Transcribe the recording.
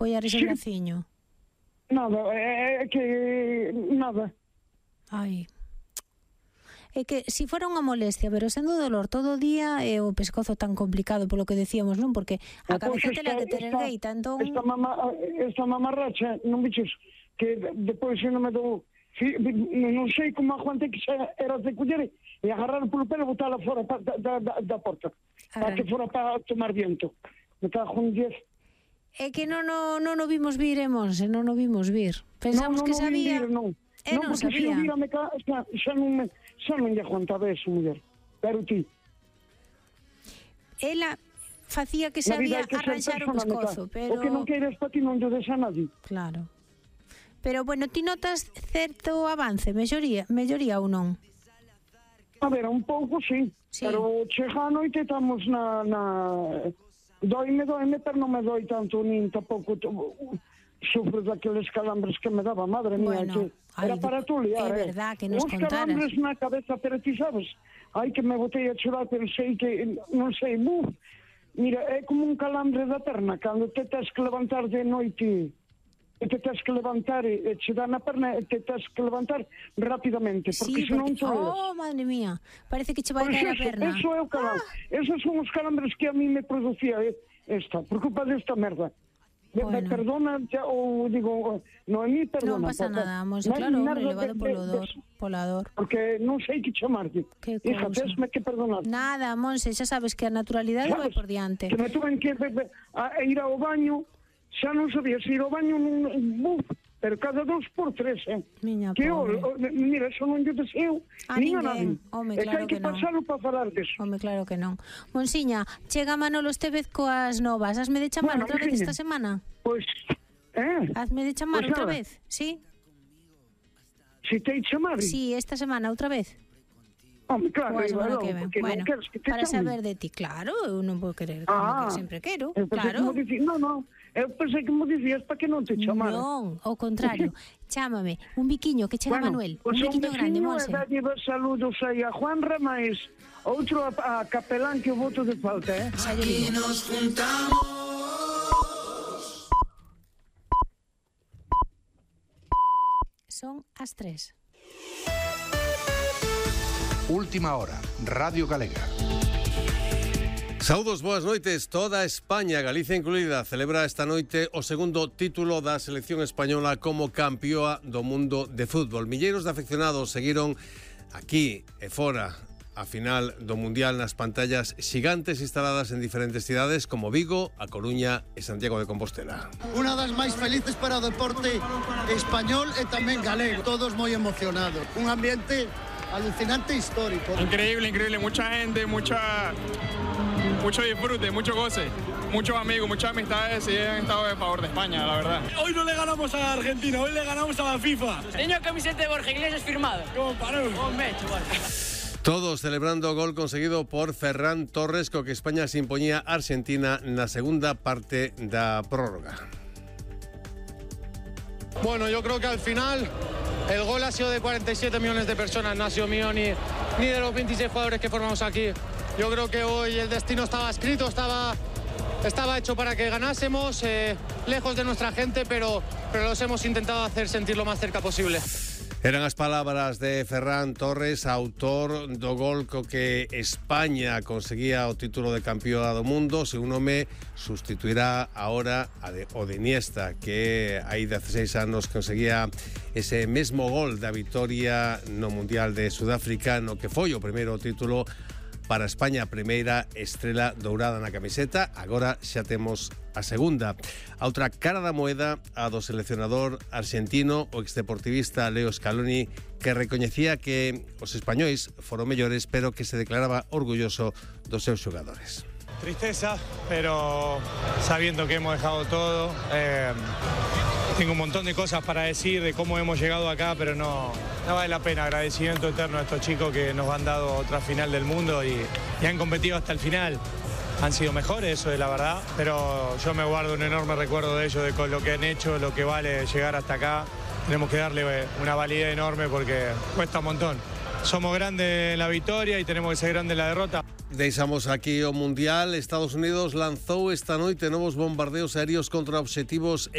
apoiar ese braciño? Nada, é que... nada. Ai... É que, se fora unha molestia, pero sendo dolor todo o día, é o pescozo tan complicado, polo que decíamos, non? Porque a cabeza tela que ter ergueita, entón... Esta mamarracha, non bichos, que depois non me dou... Non sei como aguante que xa era de coller e agarrar polo pelo e botala fora da porta, para que fora para tomar viento. Me cago en 10. É que non o vimos vir, Monse, non o vimos vir. Pensamos que sabía... Non, porque se o vira xa non lle aguantaba eso, muller. Pero ti... Ela facía que sabía arranxar o pescozo, pero... O que non queiras para ti non lle des a nadie. Claro. Pero, bueno, ti notas certo avance, melloría ou non? A ver, un pouco, sí. Pero chega a noite estamos na... Doime, pero non me doi tanto, nin tampouco... Sufro daqueles calambres que me daba, madre mía, que era para tu liar, é verdad que nos contaras. Os calambres na cabeza, pero ti sabes, ai que me botei a chorar, pero sei que, non sei, mira, é como un calambre da perna, cando te tens que levantar de noite, te tens que levantar e che dá na perna, te tens que levantar rapidamente, porque senón te leves. Oh, madre mía, parece que che vai caer a perna. Eso é o calambre, esos son os calambres que a mí me producía esta, por culpa desta merda. Me perdona, ou digo, non, a mí perdona. Non pasa nada, Monse, claro, hombre, levado pola dor. Porque non sei que chamarte. Hija, tesme que perdonar. Nada, Monse, xa sabes que a naturalidade vai por diante. Que me tuven que ir ao baño, xa non sabía se ir ao baño, pero cada 2 por 3, Miña que pobre. Mira, eso non lle deseo nin a nadie. Home, claro que non. É que hai que non. pasalo para falar deso. Home, claro que non. Monsiña, chega Manolo Estevez coas novas. Hasme de chamar outra vez esta semana? Pois, Hasme de chamar outra vez, sí? Si te chamar? Sí, esta semana outra vez. Home, claro, bueno, para saber de ti, claro, eu non vou querer como que sempre quero, claro. Non, eu pensei que me dicías para que non te chamara. Non, ao contrario, chámame, un biquiño que chega Manuel, un biquiño grande, Monse. Bueno, un saludos aí a Juan Ramais, outro a Capelán que o voto de falta, Xa lle digo. Aquí nos juntamos. Son as 3. Última hora, Radio Galega. Saúdos, boas noites. Toda España, Galicia incluída, celebra esta noite o segundo título da selección española como campeoa do mundo de fútbol. Milleiros de afeccionados seguiron aquí e fora a final do Mundial nas pantallas xigantes instaladas en diferentes cidades como Vigo, A Coruña e Santiago de Compostela. Unha das máis felices para o deporte español e tamén galego. Todos moi emocionados. Un ambiente alucinante histórico. Increíble, mucha gente, mucho disfrute, mucho goce, muchos amigos, muchas amistades y han estado de favor de España, la verdad. Hoy no le ganamos a Argentina, hoy le ganamos a la FIFA. Teño a camiseta de Borja Iglesias firmado. ¿Cómo paró? Todos celebrando o gol conseguido por Ferran Torres, co que España se impoñía a Argentina na segunda parte da prórroga. Bueno, yo creo que al final el gol ha sido de 47 millones de personas, no ha sido mío ni de los 26 jugadores que formamos aquí. Yo creo que hoy el destino estaba escrito, estaba hecho para que ganásemos, lejos de nuestra gente, pero los hemos intentado hacer sentir lo más cerca posible. Eran as palabras de Ferran Torres, autor do gol co que España conseguía o título de campeoa do mundo. Se un home sustituirá ahora o de Iniesta, que hai 16 anos conseguía ese mesmo gol da vitoria no Mundial de Sudáfrica, no que foi o primeiro título para España, a primeira estrela dourada na camiseta. Agora xa temos a segunda. A outra cara da moeda, a do seleccionador argentino, o exdeportivista Leo Scaloni, que recoñecía que os españois foron mellores, pero que se declaraba orgulloso dos seus xogadores. Tristeza, pero sabiendo que hemos dejado todo. Tengo un montón de cosas para decir de cómo hemos llegado acá, pero no vale la pena. Agradecimiento eterno a estos chicos que nos han dado otra final del mundo y han competido hasta el final. Han sido mejores, eso es la verdad, pero yo me guardo un enorme recuerdo de ellos, de con lo que han hecho, lo que vale llegar hasta acá. Tenemos que darle una validez enorme porque cuesta un montón. Somos grandes en la victoria y tenemos que ser grandes en la derrota. Deixamos aquí o Mundial. Estados Unidos lanzou esta noite novos bombardeos aéreos contra obxectivos